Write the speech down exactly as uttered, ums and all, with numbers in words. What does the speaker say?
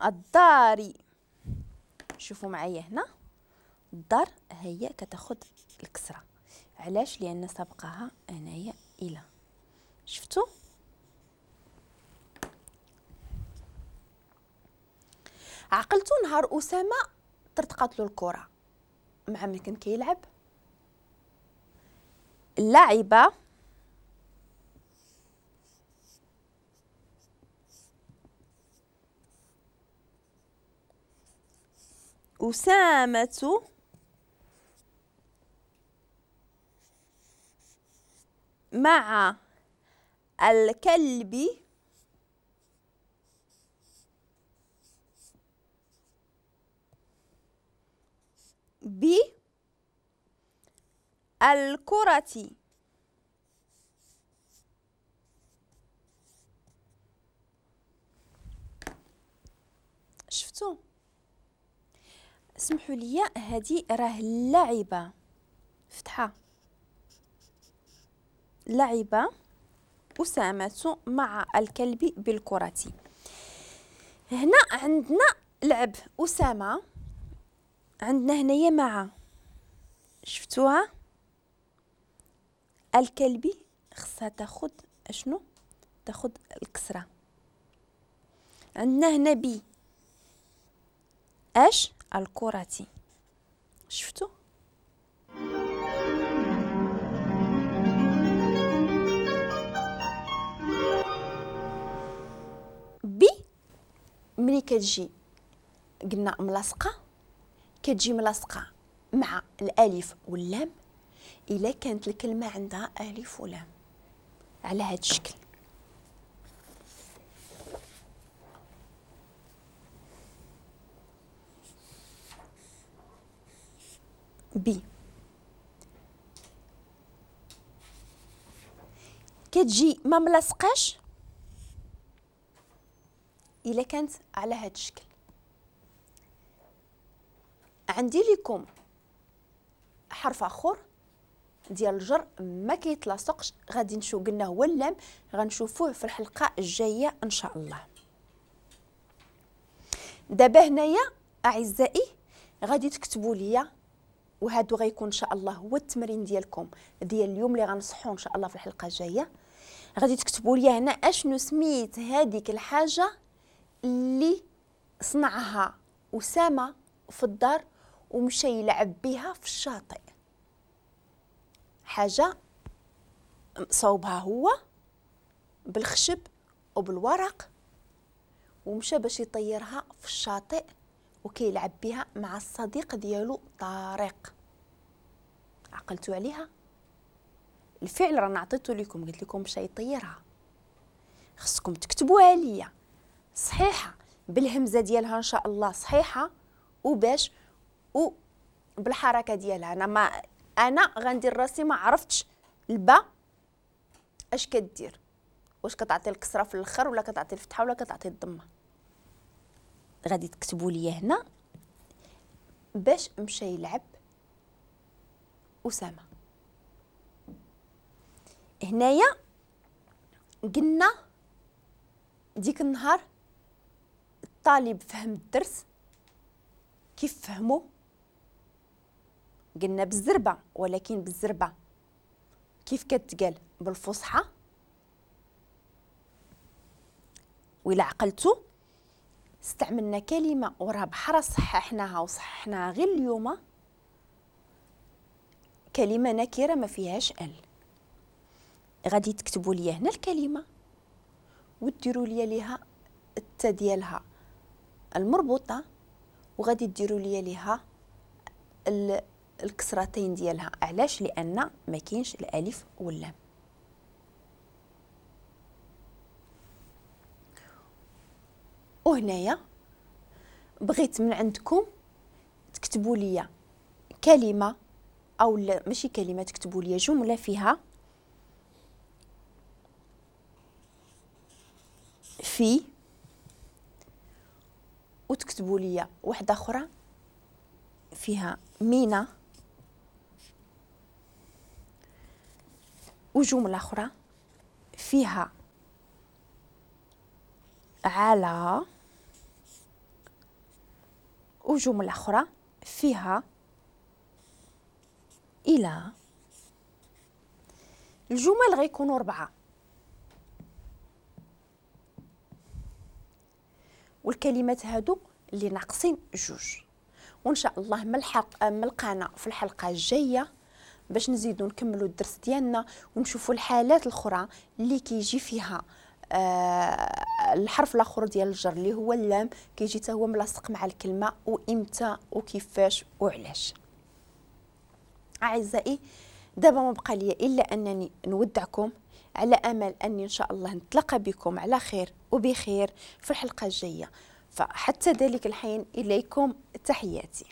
الدار. شوفوا معايا هنا الدار هي كتاخد الكسرة، علاش؟ لان سبقها هنايا الى. شفتوا؟ عقلتوا نهار اسامة طرطقات له الكره مع من كان كيلعب؟ لعب أسامة مع الكلب بالكرة. شفتوا؟ سمحوا لي، هذه راه لعبة فتحة، لعبة أسامة مع الكلب بالكرة. هنا عندنا لعب أسامة، عندنا هنايا مع، شفتوها؟ الكلب خصها تاخد اشنو؟ تاخد الكسرة. عندنا هنا بي اش؟ الكرة. شفتوا؟ بي ملي كتجي قلنا ملاصقة، كتجي ملاصقة مع الألف واللام إلا كانت الكلمة عندها ألف ولام على هذا الشكل. بي كتجي ما ملاصقاش الا كانت على هذا الشكل. عندي لكم حرف اخر ديال الجر ما كيتلاصقش، غادي نشوف قلنا هو اللام، غنشوفوه في الحلقة الجاية ان شاء الله. دابا هنايا اعزائي غادي تكتبوا لي، وهادو غيكون ان شاء الله هو التمرين ديالكم ديال اليوم اللي غنصحو ان شاء الله في الحلقة الجاية. غادي تكتبوا لي هنا اشنو سميت هذيك الحاجة اللي صنعها اسامة في الدار ومشى يلعب بها في الشاطئ. حاجة صوبها هو بالخشب وبالورق ومشى باش يطيرها في الشاطئ وكيلعب بها مع الصديق ديالو طارق. عقلتوا عليها؟ الفعل راه عطيته لكم، قلت لكم مشى يطيرها، خصكم تكتبوها ليا صحيحه بالهمزه ديالها ان شاء الله صحيحه، وباش وبالحركه ديالها. انا ما انا غندير راسي ما عرفتش البا اش كدير، واش كتعطي الكسرة في الاخر ولا كتعطي الفتحة ولا كتعطي الضمة. غادي تكتبوا لي هنا باش مشى يلعب اسامة. هنايا قلنا ديك النهار الطالب فهم الدرس، كيف فهمو؟ قلنا بالزربه، ولكن بالزربه كيف كتقال؟ بالفصحى. وإلا عقلتو استعملنا كلمة وراه بحرا صححناها وصححناها غير اليوم، كلمة نكره ما فيهاش ال. غادي تكتبوا لي هنا الكلمة وديروا لي ليها التا ديالها المربوطه، وغادي ديروا لي ليها الكسرتين ديالها. علاش؟ لان ما كاينش الالف واللام. وهنايا بغيت من عندكم تكتبوا لي كلمة، او لا ماشي كلمة، تكتبوا لي جملة فيها في، وتكتبوا لي واحدة اخرى فيها مينا، وجملة اخرى فيها على، وجملة أخرى فيها إلى. الجمل غيكونوا أربعة، والكلمات هادو اللي ناقصين جوج. وإن شاء الله ملحق ملقانا في الحلقة الجاية باش نزيدو نكملو الدرس ديالنا ونشوفوا الحالات الأخرى اللي كيجي فيها آه الحرف الاخر ديال الجر اللي هو اللام، كيجي حتى هو ملاصق مع الكلمة، وامتى وكيفاش وعلاش. اعزائي دابا ما بقى لي الا انني نودعكم على امل اني ان شاء الله نتلاقى بكم على خير وبخير في الحلقة الجاية. فحتى ذلك الحين اليكم تحياتي.